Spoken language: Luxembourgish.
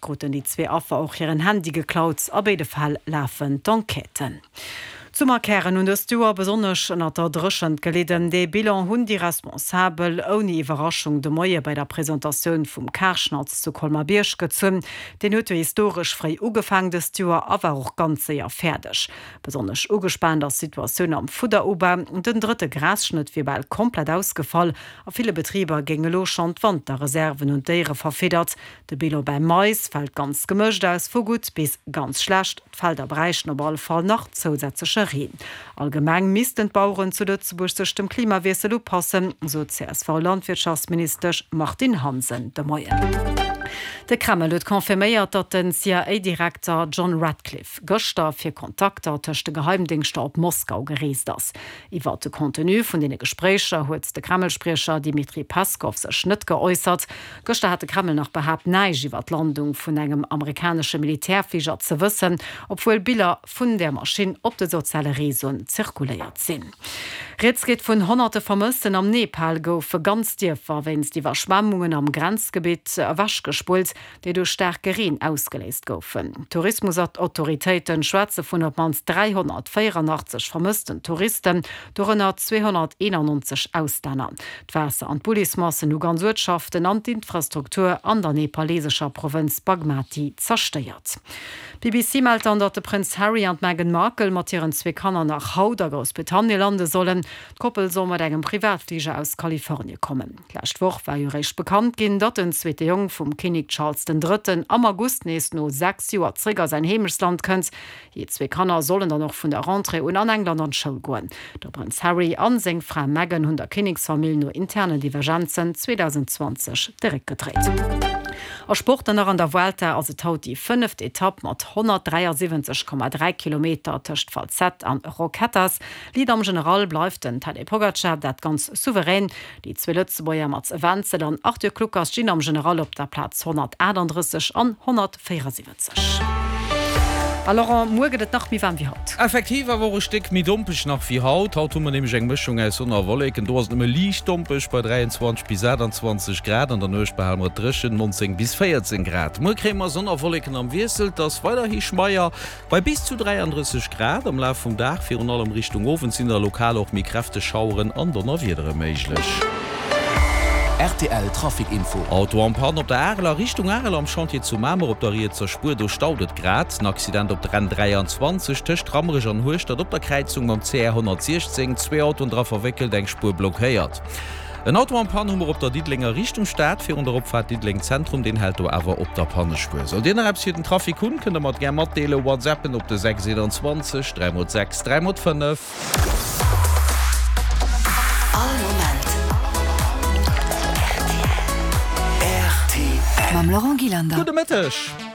kruten déi zwee Affer och hiren Handy geklaut. A béide Fäll lafen d'Enquêten. D'Summerkären hunn dëst Joer besonnesch ënnert der Dréchent gelidden. Dee Bilan hunn déi Responsabel ouni Iwwerraschung de Moie bei der Presentatioun vum Karschnatz zu Colmer-Bierg gezunn. Deen huet jo historesch fréi ugefaang dëst Joer a war och ganz séier fäerdeg. Besonnesch ugespaant ass d'Situatioun am Fudderubau. Den drëtte Grasschnëtt wier bal komplett ausgefall. A ville Betriber géing elo schonn d'Wanterreserven un d'Déiere verfiddert. De Bilan beim Mais fält ganz gemëscht aus, vu gutt bis ganz schlecht. D'Felder bräichten op alle Fall nach zousätzleche Reen. Allgemeng missten d'Baueren zu Lëtzebuerg sech dem Klimawiessel upassen, sot d'CSV-Landwirtschaftsministesch Martine Hansen de Moien. De Kreml huet confirméiert, datt den CIA-Direkter John Ratcliffe gëschter fir Kontakter tëscht de Geheimdéngschter op Moskau gereest ass. Iwwer de Contenu vun deene Gespréicher huet de Kreml-Spriecher Dmitri Peskov sech net geäussert. Gëschter hat de Kreml nach behaapt, näischt iwwer d'Landung vun engem amerikanesche Militärfliger ze wëssen, obwuel Biller vun där Maschinn op de soziale Reseauen zirkuléiert sinn. Rieds geet vun honnerte Vermëssten. Am Nepal goufe ganz Dierfer wéinst Iwwerschwemmungen am Grenzgebitt ewechgespullt, déi duerch staarke Reen ausgeléist goufen. D'Tourismusautoritéite schwätze vun op d'mannst 384 vermëssten Touristen, dorënner 291 Auslänner. D'Waasser an d'Bullismassen hu ganz Uertschaften an d'Infrastruktur an der nepalesescher Provënz Bagmati zerstéiert. D'BBC mellt dann, datt de Prënz Harry an d'Meghan Markle mat hiren zwee Kanner nach haut a Groussbritannien lande sollen. D'Koppel soll mat engem Privatfliger aus Kalifornie kommen. D'lescht Woch war jo réischt bekannt ginn, datt den zweete Jong vum Kinnek Charles den Drëtten am August nees no 6 Joer zréck a säin Heemechtsland kënnt. Hir zwee Kanner sollen dann och vun der Rentrée un an England an d'Schoul goen. De Prënz Harry a seng Fra Meghan hunn der Kinneksfamill no internen Divergenzen 2020 de Réck gedréit. A Sport dann nach, An der Vuelta ass et haut déi fënneft Etapp mat 173,3 Kilometer tëscht Falset an Roquetas. Lead am General bleift den Tadej Pogacar, dat ganz souverän. Déi zwee Lëtzebuerger Mats Wenzel an Arthur Kluckers stinn am General op der Plaz 138 an 174. A Laurent, muer gëtt et nach méi waarm wéi haut. Effektiv, awer och e Stéck méi dompeg nach wéi haut. Haut hu mer nämlech eng Mëschung aus Sonn a Wolleken. Do ass et nëmme liicht dompeg bei 23 bis 28 Grad. An der Nuecht behale mer et dréchen, 19 bis 14 Grad. Muer kréie mer Sonn a Wolleken am Wiessel. Et ass weiderhi schmeier bei bis zu 33 Grad. Am Laf vum Dag, virun allem Richtung Owend, sinn da lokal och méi kräfteg Schaueren an Donnerwiedere méiglech. Rtl Trafic Info. Auto en panne op der Arel a Richtung Arel am Chantier zu Mamer op der rietser Spuer, do staut et grad. En Accident op der N 23 tëscht Rammerech an Hueschtert op der Kräizung mam CR 116, zwee Autoen dra verwéckelt, eng Spuer blockéiert. En Auto en panne hu mer op der Diddelenger Richtung Stad virun der Opfaart Diddeleng Zentrum, deen hält do awer op der Pannespuer. Sollt Dir nach eppes fir den Trafic hunn, kënnt der mer et gär matdeelen, WhatsAppen op de 6 21 3 x 6 3 x 5. All Moment rtl. Mam Laurent Gillander. Gudde Mëtteg.